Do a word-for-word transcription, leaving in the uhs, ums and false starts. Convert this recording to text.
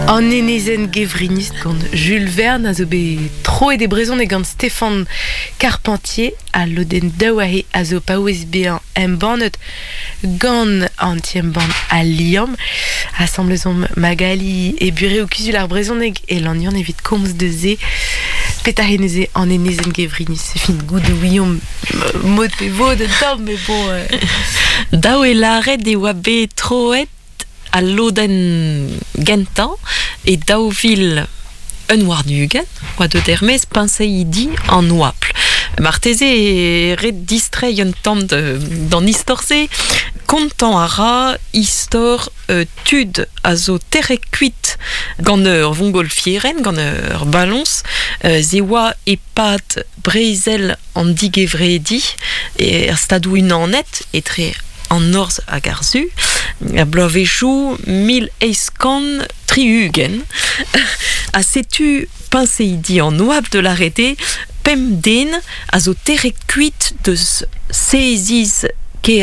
An enezen gevrinus gant Jules Verne a zo bet troet e brezhoneg gant Stéphane Carpentier a lodenn daou ahe a zo paouez bezañ embannet gant an ti-embann Al Liamm. Asambles omp Magali e burev kuzul ar brezhoneg e Lannion evit komz deus se. Petra neuze an enezen gevrinus fin goût ouiomp mod pe vod un tamm mais bon... Euh... Daou e lâret e oa bet troet al lodenn gentañ e daou vil un warn-ugent, oa deut er-maez peñseidi an oabl. Marteze e ret distreiñ un tamm d'an istor-se, kontañ a ra istor euh, tud a zo tec'het kuit gant ur vongolfieren, gant ur baloñs, euh, ze oa e-pad brezel an digevredi er Stadoù Unanet etre an norzh hag ar su, er bloavezhioù mil eizh kant tri-ugent. Ha setu peñseidi an oabl de l'arrêté pemp den a zo tec'het kuit deus seziz